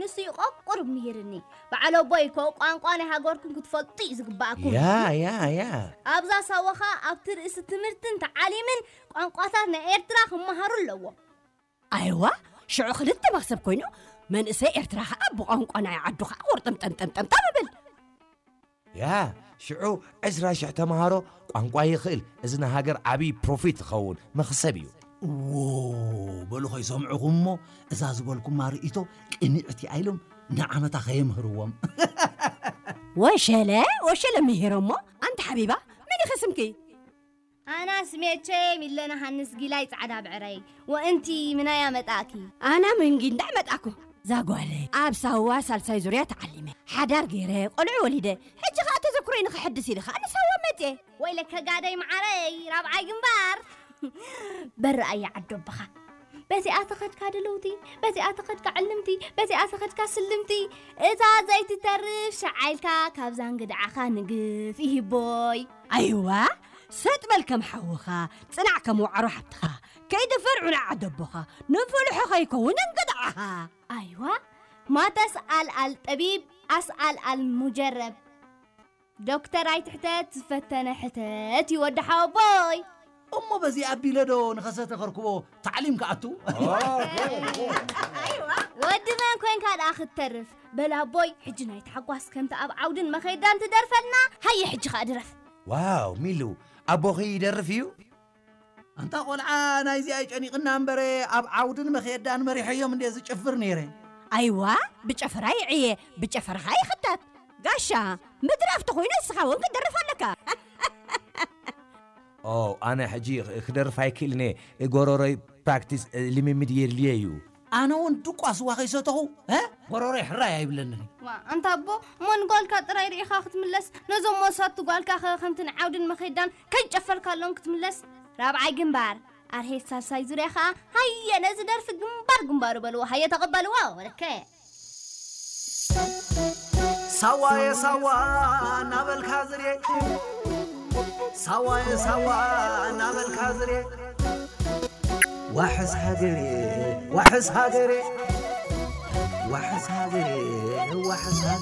ንሱ ይቆቁር ምሂርኒ። በዓል ኣቦይ እኮ ቋንቋ ናይ ሃገርኩም ክትፈልጡ እዩ ዝግባኣኩም። ያ ያ ያ ኣብዛ ሳዋ ኸኣ ኣብቲ ርእሲ ትምህርትን ተዓሊምን ቋንቋታት ናይ ኤርትራ ክመሃሩ ኣለዎም። ኣይዋ ሽዑ ክልተ መክሰብ ኮይኑ መንእሰይ ኤርትራ ከዓ ብቋንቋ ናይ ዓዱ ከዓ ቁርጥምጠምጠምጠምጠም ይብል። ያ ሽዑ ዕስራ ሽሕ ተምሃሮ ቋንቋ ይኽእል። እዚ ንሃገር ዓብዪ ፕሮፊት ዝኸውን መኽሰብ እዩ። እዎ በሉ ከይሰምዑኹም እሞ እዛ ዝበልኩማ ርእይቶ ቅንዕቲ ኢሎም ንዓመታ ከየምህርዎም። ወሸለ ወሸለ ምሂሮሞ። ኣንቲ ሓቢባ መን ኢኺ ስምኪ? ኣና ስሜቼ ሚለና ሃንስ ጊላይ ጻዕዳ ብዕረይ። ወእንቲ ምናያ መጣእኪ? ኣና ምንጊ እንዳዕ መጣኩ። ዛጓለ ኣብ ሳዋ ሳልሳይ ዙርያ ተዓሊመ ሓዳር ገይረ ቆልዑ ወሊደ። ሕጂ ከዓ ተዘክሮይ ንክሕድስ ኢለ ከዓ ንሳዋ መፅየ። ወይለከ ጋደይ መዓረይ ራብዓይ ግንባር። በረኣያ ዓዶ ኣቦኻ። በዚኣ ተኸድካ ድልውቲ፣ በዚኣ ተኸድካ ዕልምቲ፣ በዚኣ ተኸድካ ስልምቲ። እታ ዘይትተርፍ ሸዓይልካ ካብ ዛንግድዓኻ ንግፍ ይህቦይ። ኣይዋ ሰጥ በል ከም ሓውኻ፣ ፅናዕ ከም ዋዕሮ ሓብትኻ። ከይዲ ፈርዑን ዓደቦኻ ንፍልሖ ከይከውን እንግድዓኻ። ኣይዋ ማተስ ኣልኣል ጠቢብ ኣስኣል ኣል ሙጀረብ። ዶክተር ኣይትሕተት ዝፈተነ ሕተት ይወዲ ሓወቦይ። እሞ በዚ ኣቢለ ዶ ንኸሰተ ከርክቦ ታዕሊም ክኣቱ? ወዲ መን ኮንካ ደኣ ክትተርፍ? በል ኣቦይ ሕጂ ናይ ተሓጓስ ከምቲ ኣብ ዓውድን መኸይዳን ትደርፈልና። ሃየ ሕጂ ከኣ ድረፍ። ዋው ሚሉ ኣቦኺ ይደርፍ እዩ። ኣንታ ቆልዓ ናይዚ ኣይጨኒቕና እምበረ ኣብ ዓውድን መኸየዳን መሪሐዮም እንደ ዝጭፍር ነይረ። ኣይዋ ብጨፈራ ይዕየ ብጨፈራኻ ይኽተት። ጋሻ ምድራፍ ተኾይኑ እስኻ እውን ክትደርፍ ኣለካ። ኦ ኣነ ሕጂ ክደርፍ ኣይክእልነ። ጎሮሮይ ፕራክቲስ ልምምድ የድልየ እዩ። ኣነ እውን ድቋ ስዋ ከይሰተኹ እ? ጎሮሮይ ሕራይ ኣይብለንን። ዋ ኣንታ ኣቦ እሞ ንጓልካ ጥራይ ርኢኻ ክትምለስ ነዞም መሳቱ ጓልካ ኸ ከምቲ ንዓውድን መኸዳን ከይጨፈልካሎም ክትምለስ። ራብዓይ ግንባር ኣርሄት ሳልሳይ ዙርያ ኸኣ ሃየ ነዚ ደርፊ ግንባር ግንባሩ በልዎ ሃየ ተቐበልዎ። ወለከ ሳዋየ ሳዋ እናበልካ ዝሬ ሳዋየ ሳዋ እናበልካ ዝሬ ዋሕስ ሃገሬ ዋሕስ ሃገሬ ዋሕስ ሃገሬ ዋሕስ ሃገሬ